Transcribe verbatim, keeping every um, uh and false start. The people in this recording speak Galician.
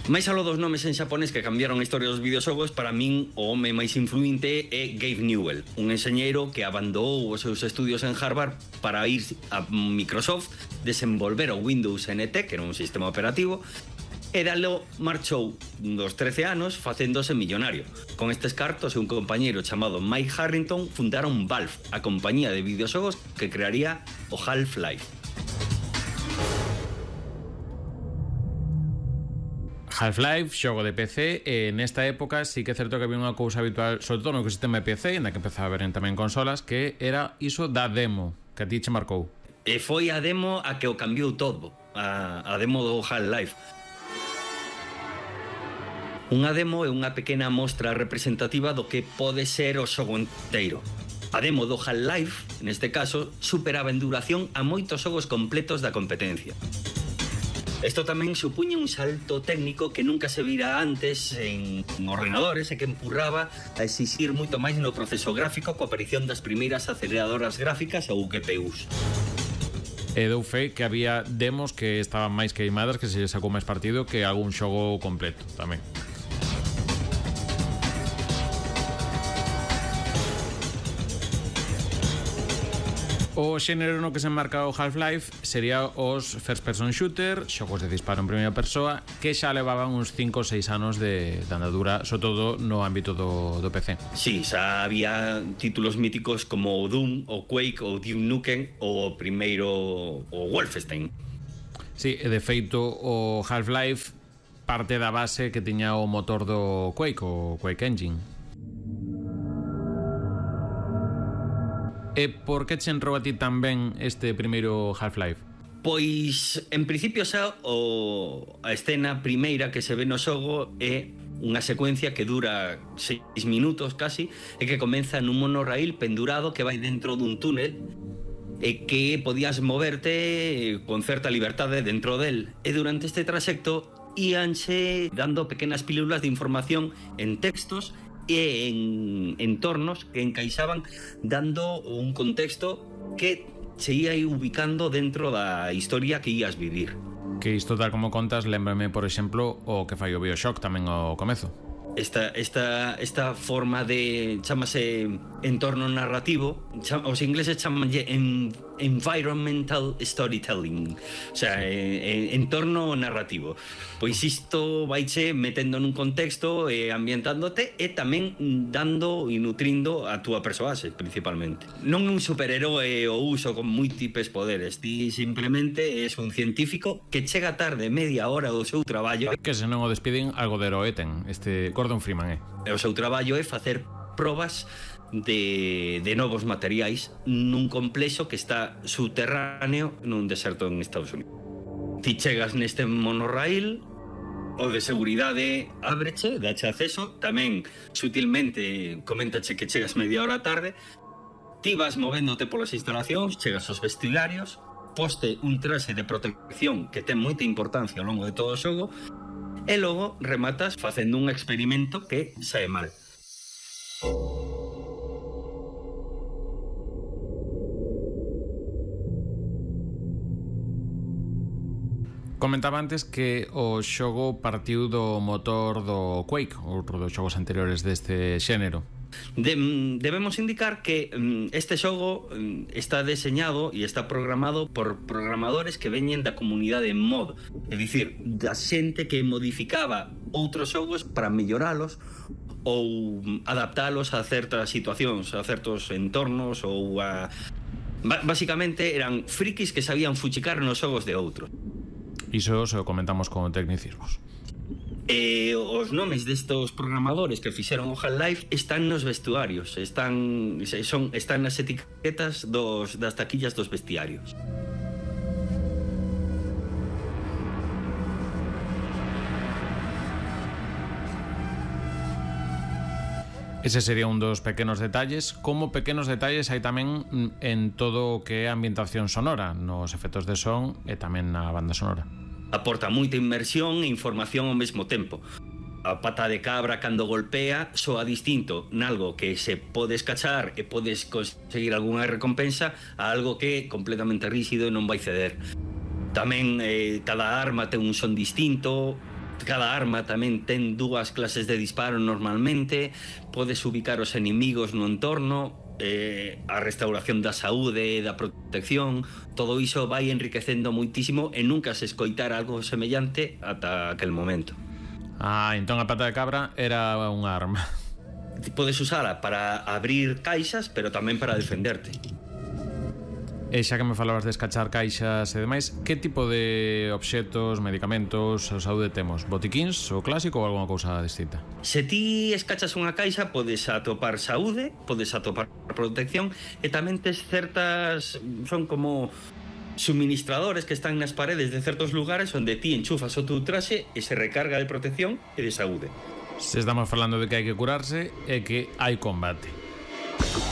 Máis aló dos nomes en xaponés que cambiaron a historia dos videoxogos, para min o home máis influinte é Gabe Newell, un enxeñeiro que abandonou os seus estudios en Harvard para ir a Microsoft, desenvolver o Windows N T, que era un sistema operativo, e dalo marchou dos trece anos facéndose millonario. Con estes cartos e un compañeiro chamado Mike Harrington fundaron Valve, a compañía de videoxogos que crearía o Half-Life. Half-Life, xogo de P C, e nesta época sí que é certo que había unha cousa habitual, sobre todo no ecosistema de P C, na que empezaba a ver tamén consolas, que era iso da demo, que a ti che marcou. E foi a demo a que o cambiou todo, a, a demo do Half-Life. Unha demo é unha pequena mostra representativa do que pode ser o xogo inteiro. A demo do Half-Life, neste caso, superaba en duración a moitos xogos completos da competencia. Isto tamén supuña un salto técnico que nunca se vira antes en ordenadores e que empurraba a exixir moito máis no proceso gráfico coa aparición das primeiras aceleradoras gráficas ou G P Us. E dou fe que había demos que estaban máis queimadas, que se sacou máis partido que algún xogo completo tamén. O xénero no que se enmarca o Half-Life sería os first person shooter, xogos de disparo en primeira persoa, que xa levaban uns cinco ou seis anos de, de andadura, sobre todo no ámbito do, do P C. Sí, xa había títulos míticos como o Doom, o Quake, o Duke Nukem, ou o primeiro o Wolfenstein. Sí, e de feito o Half-Life parte da base que tiña o motor do Quake, o Quake Engine. E por que che entrou a ti tamén este primeiro Half-Life? Pois, en principio xa o, a escena primeira que se ve no xogo é unha secuencia que dura seis minutos casi e que comeza nun monorraíl pendurado que vai dentro dun túnel e que podías moverte con certa liberdade dentro del. E durante este traxecto íanse dando pequenas pílulas de información en textos e en entornos que encaixaban dando un contexto que se ia ubicando dentro da historia que ías vivir. Que isto tal como contas, lembrame, por exemplo, o que fai o BioShock tamén ao comezo. Esta, esta, esta forma de, chamase entorno narrativo, cham, os ingleses chamanlle en, environmental storytelling, o sea, eh, entorno narrativo. Pois isto vaiche metendo nun contexto e eh, ambientándote e tamén dando e nutrindo a túa persoaxe, principalmente. Non un superheroe o uso con múltiples poderes, ti simplemente és un científico que chega tarde media hora do seu traballo. Que se non o despiden, algo de heroe ten, este Gordon Freeman, eh? E o seu traballo é facer probas de, de novos materiais nun complexo que está subterráneo nun deserto en Estados Unidos. Ti chegas neste monorraíl, o de seguridade ábreche, dache acceso, tamén sutilmente coméntache que chegas media hora tarde, ti vas movéndote polas instalacións, chegas aos vestidarios, poste un traxe de protección que ten moita importancia ao longo de todo o xogo, e logo rematas facendo un experimento que sae mal. Comentaba antes que o xogo partiu do motor do Quake, outro dos xogos anteriores deste xénero. De, debemos indicar que este xogo está deseñado e está programado por programadores que veñen da comunidade mod, é dicir, da xente que modificaba outros xogos para melloralos ou adaptalos a certas situacións, a certos entornos ou a... Básicamente eran frikis que sabían fuchicar nos xogos de outros. Iso se o comentamos con tecnicismos. E os nomes destos programadores que fixeron o Half-Life están nos vestuarios, están son están nas etiquetas dos das taquillas dos vestiarios. Ese sería un dos pequenos detalles. Como pequenos detalles hai tamén en todo o que é a ambientación sonora, nos efectos de son e tamén na banda sonora. Aporta moita inmersión e información ao mesmo tempo. A pata de cabra cando golpea soa distinto nalgo que se pode escachar e podes conseguir algunha recompensa a algo que é completamente rígido e non vai ceder. Tamén eh, cada arma ten un son distinto, cada arma tamén ten dúas clases de disparo normalmente, podes ubicar os enemigos no entorno, eh, a restauración da saúde, da protección, todo iso vai enriquecendo moitísimo e nunca se escoitar algo semellante ata aquel momento. Ah, entón a pata de cabra era unha arma. Podes usala para abrir caixas, pero tamén para defenderte. E xa que me falabas de escachar caixas e demais, que tipo de obxetos, medicamentos ou saúde temos? Botiquíns, o clásico ou alguna cousa distinta? Se ti escachas unha caixa, podes atopar saúde, podes atopar protección e tamén tes certas... son como suministradores que están nas paredes de certos lugares onde ti enchufas o teu traxe e se recarga de protección e de saúde. Se estamos falando de que hai que curarse e que hai combate.